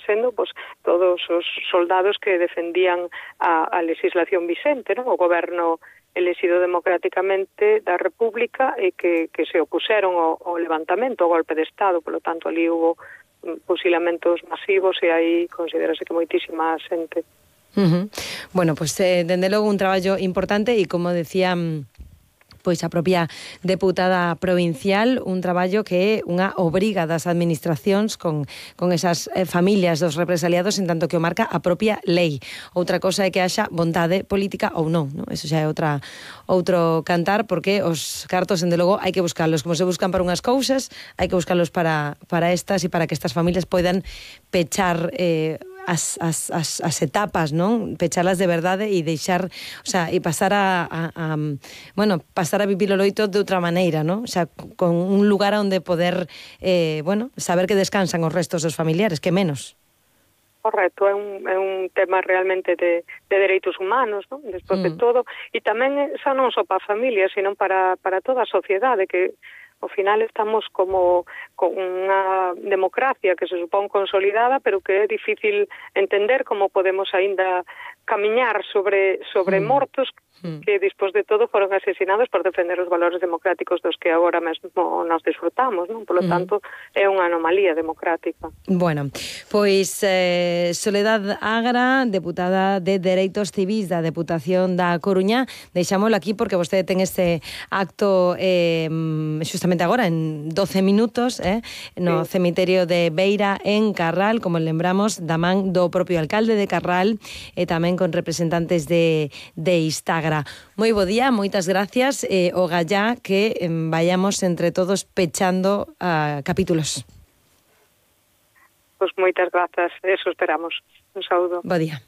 sendo pois, todos os soldados que defendían a legislación vixente, non? O goberno elexido democráticamente da República e que se opuseron ao levantamento, ao golpe de Estado. Polo tanto, ali hubo fusilamentos masivos e aí considerase que moitísima xente. Bueno, pues dende logo un traballo importante e, como decía pois a propia deputada provincial, un traballo que é unha obriga das administracións con esas familias dos represaliados, en tanto que o marca a propia lei. Outra cosa é que haxa vontade política ou non, ¿no? Eso xa é outro cantar, porque os cartos, dende logo, hai que buscalos. Como se buscan para unhas cousas, hai que buscalos para estas e para que estas familias poidan pechar as etapas, non? Pechalas de verdade e deixar, o sea, e pasar pasar a vivir o loito de outra maneira, non? O sea, con un lugar onde poder, saber que descansan os restos dos familiares, que menos. Correcto, é un tema realmente de dereitos humanos, non? Despois de todo, e tamén xa non só para a familia, sino para toda a sociedade, que ao final estamos como con unha democracia que se supón consolidada, pero que é difícil entender como podemos aínda camiñar sobre mortos que, despois de todo, foron asesinados por defender os valores democráticos dos que agora mesmo nos disfrutamos, non? Por lo tanto, é unha anomalía democrática. Bueno, pois Soledad Agra, deputada de Dereitos Civís da Deputación da Coruña, deixámolo aquí porque vostede ten este acto xustamente agora, en 12 minutos, no cemiterio de Beira, en Carral, como lembramos, da man do propio alcalde de Carral e tamén con representantes de Instagram. Moi bo día, moitas gracias, o gallá que vayamos entre todos pechando capítulos. Pois moitas grazas, eso esperamos. Un saúdo. Bo día.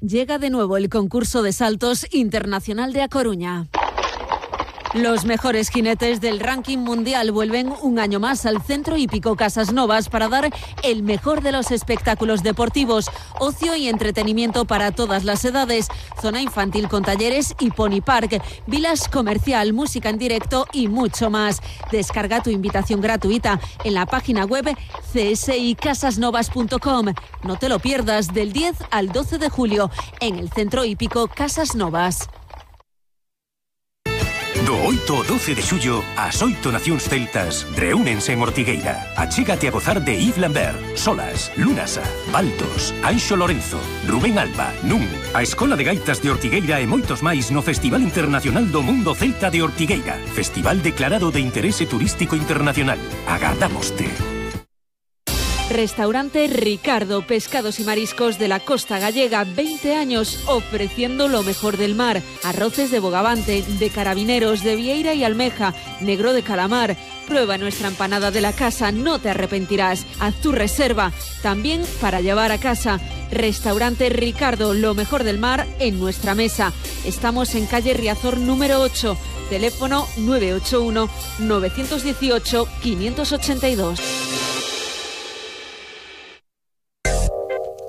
Llega de nuevo el concurso de saltos internacional de A Coruña. Los mejores jinetes del ranking mundial vuelven un año más al Centro Hípico Casas Novas para dar el mejor de los espectáculos deportivos, ocio y entretenimiento para todas las edades, zona infantil con talleres y pony park, vilas comercial, música en directo y mucho más. Descarga tu invitación gratuita en la página web csicasasnovas.com. No te lo pierdas, del 10 al 12 de julio en el Centro Hípico Casas Novas. Do 8 ao 12 de xullo, as 8 nacións celtas reúnense en Ortigueira. Achégate a gozar de Yves Lambert, Solas, Lunasa, Baltos, Anxo Lorenzo, Rubén Alba, Nun, a Escola de Gaitas de Ortigueira e moitos máis no Festival Internacional do Mundo Celta de Ortigueira. Festival declarado de interese turístico internacional. Agardámoste. Restaurante Ricardo, pescados y mariscos de la costa gallega, 20 años ofreciendo lo mejor del mar. Arroces de bogavante, de carabineros, de vieira y almeja, negro de calamar. Prueba nuestra empanada de la casa, no te arrepentirás. Haz tu reserva, también para llevar a casa. Restaurante Ricardo, lo mejor del mar en nuestra mesa. Estamos en calle Riazor número 8, teléfono 981 918 582.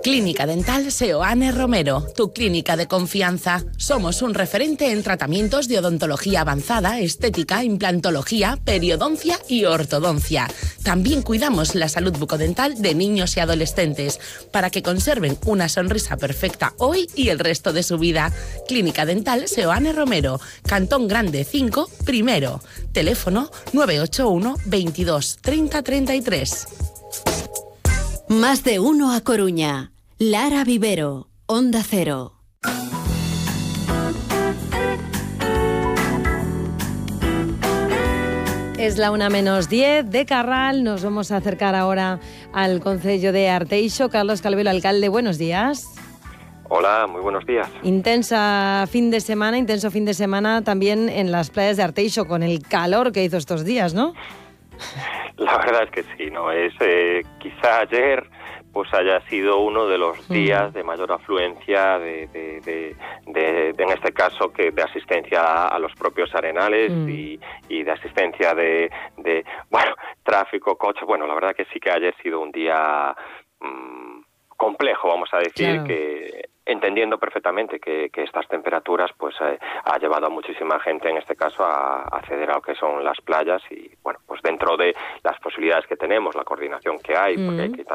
Clínica Dental Seoane Romero, tu clínica de confianza. Somos un referente en tratamientos de odontología avanzada, estética, implantología, periodoncia y ortodoncia. También cuidamos la salud bucodental de niños y adolescentes para que conserven una sonrisa perfecta hoy y el resto de su vida. Clínica Dental Seoane Romero, Cantón Grande 5, primero. Teléfono 981 22 30 33. Más de uno a Coruña. Lara Vivero, Onda Cero. Es la 1:10 de Carral. Nos vamos a acercar ahora al concello de Arteixo. Carlos Calvelo, alcalde, buenos días. Hola, muy buenos días. Intenso fin de semana también en las playas de Arteixo, con el calor que hizo estos días, ¿no? La verdad es que sí, ¿no? Quizá ayer pues haya sido uno de los días de mayor afluencia en este caso que de asistencia a los propios arenales y de asistencia de tráfico, coche. Bueno, la verdad que sí que ayer ha sido un día complejo, vamos a decir, claro, entendiendo perfectamente que estas temperaturas pues ha llevado a muchísima gente, en este caso, a acceder a lo que son las playas y, bueno, pues dentro de las posibilidades que tenemos, la coordinación que hay, porque hay que también